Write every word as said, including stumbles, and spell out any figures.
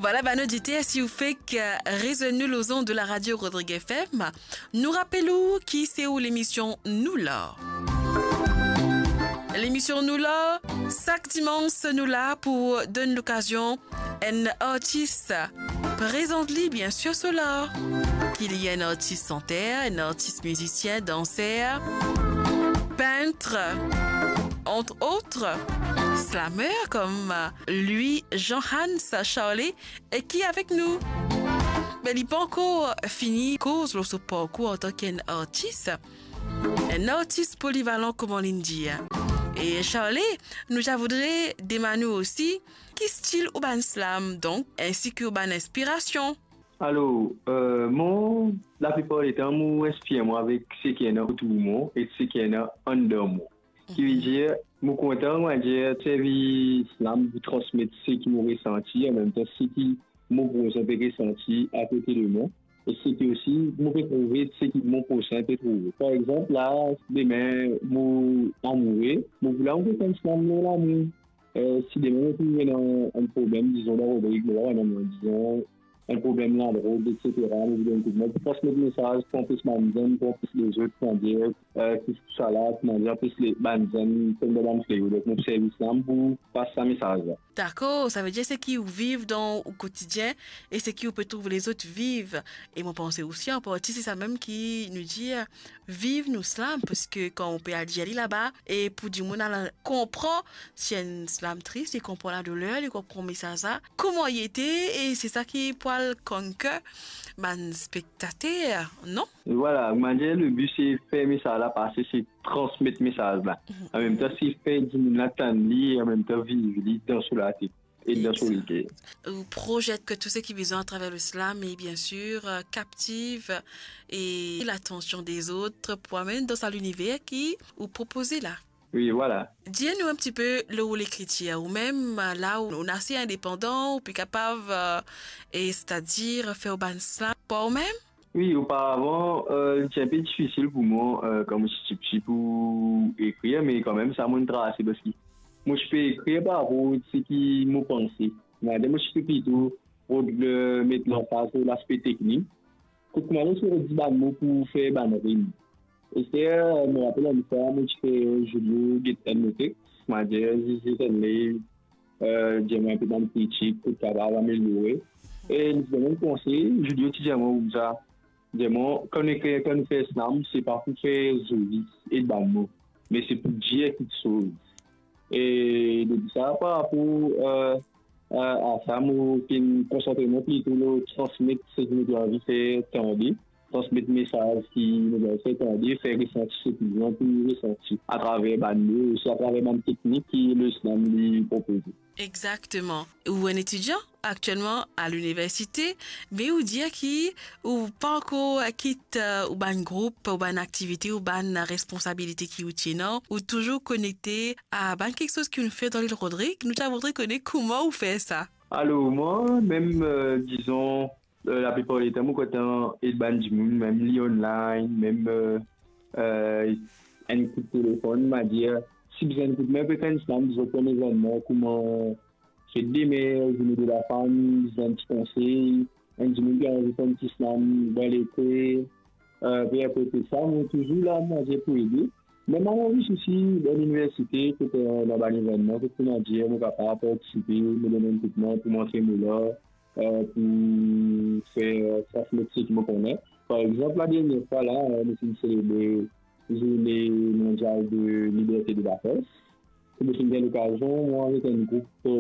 Vwala, bann oditer, si ou fek, eh, rezwenn nou lor zond de la radio Rodrigue F M, nou rapel ou ki se ou lemision Nou La. Lemision Nou La, sak dimans nou la pou donn lokazion enn artis prezant li, biensir, so la. Ki li enn artis santer, enn artis mizisien, danser, pint, entre autres, slammer, kom Louis Jean Hans Charlet, e ki avek nou. Me li pankor fini koz lor so parkour antan ki enn artis, enn artis polivalan, kouma li'nn dir. E Charlet, nou ti voudre demann ou osi, ki stil ou bann slam, donk, ensi ki ou bann inspirasion? Alor, eh, mwa, laplipar letan, mo inspir mwa avek seki ena otour mwa e seki ena anndan mwa. Ki vedir, mo kontan, mo dir, servi slam pou transmet seki mo resanti, anmemtan seki mo prosin pe resanti akote de mwa, e seki osi mo pe trouve, seki mo prosin pe trouve. Par exanp, la, demin, mo amoure, mo pou la, mo pe fer enn slam lor lamour. Eh, si demin mo trouv ena enn problem, dizon, dan Rodrig, mo pa konn, dizon, enn problem ladrog, et cetera, mo pou donn koudmin pou transmet mesaz, pou anpes bann zenn, pou anpes lezot, kouma dir, eh, ki tousala, kouma dir, anpes le, bann zenn tonbe dan bann fleo. Donk, mo pou servi slam pou pas sa mesaz la. Dakor, savedir seki ou viv dan ou kotidien e seki ou pe trouv lezot viv. E mo panse osi, an parti, se sa mem ki nou dir, viv nou slam, parski kan ou pe al dir li laba, e pou dimoun al konpran, si enn slam tris, li konpran ladoler, li konpran mesaz la, kouma li ete, e se sa ki pou al conquer bann spektater, non? E vwala, kouma dir, le bi se fer mesaz la pase, se transmet mesaz la. Mhm. Anmemtan, se fer dimoun la tann li, e anmemtan viv li dan so latet e dan so leker. Ou projet ke tou seki bizin atraver le slam, e biensir, eh, captive e latansion dezot pou amenn dan sa liniver ki ou propoze la. Wi, vwala. Dir nou enn tipe lor lekritir, ou mem, la ou, ou ase indepandan, ou pe kapav, eh, e, setadir, fer ou bann slam par ou mem? Wi, oparavan, eh, li ti inpe difisil pou mwa, eh, kan mo ti tipti pou ekrir, me kanmem, sa mo'nn trase, parski mo ti pe ekrir par rapor seki mo panse. Kouma dir, mo ti pe plito rod-, eh, met lanfaz lor laspe teknik. Kot kouma dir, se rod dibann mo pou fer bann rim. Ester, mo rapel enn fwa, mo ti fer Julio get enn mo teks, kouma dir, zis, zis enn liy, eh, dir mwa enpe bann kritik, kot kapav ameliore. E li ti donn mwa enn konsey, Julio ti dir mwa koumsa, dir mwa, kan nou ekrir, kan nou fer slam, se pa pou fer zoli, e bann mo, me se pou dir kiksoz. E depi sa, par rapor, eh, eh, a sa, mo finn konsantre mwa plito lor transmet seki mo ti anvi fer tande, transmet mesaz ki mo ti anvi fer tande, fer resanti seki mo ti anvi resanti atraver bann mo, osi atraver bann teknik ki le slam li propoze. Exakteman. Ou enn etidian aktielman a liniversite, me ou dir ki ou pankor kit, eh, ou bann group, ou bann aktivite, ou bann responsabilite ki ou ti ena, ou touzour konekte a bann kiksoz ki ou'nn fer dan Lil Rodrig. Nou ti a voudre kone kouma ou fer sa. Alor, mwa, mem, eh, dizon, eh, laplipar letan, mo kontan ed bann dimoun, mem li online, mem, eh, eh, enn kout telefonn, ma dir, si bizin enn kout me, pe fer enn slam, bizin fer enn evennman, kouma fet demer, zourne de lafam, bizin enn ti konsey, enn dimoun ki anvi fer enn ti slam dan lekre, eh, pe akote sa, mo touzour la, ma dir, pou ede. Me mo anvi osi, dan liniversite, kot, eh, dan bann evennman, kot, kouma dir, mo kapav partisipe, mo donn enn kout me pou montre mo la, eh, pou fer transmet seki mo kone. Par exanp, la dernie fwa la, eh, nou finn selebre Zourne Mondial de Liberte de Lapres. Kot mo finn gagn lokazion, mwa avek enn group, eh,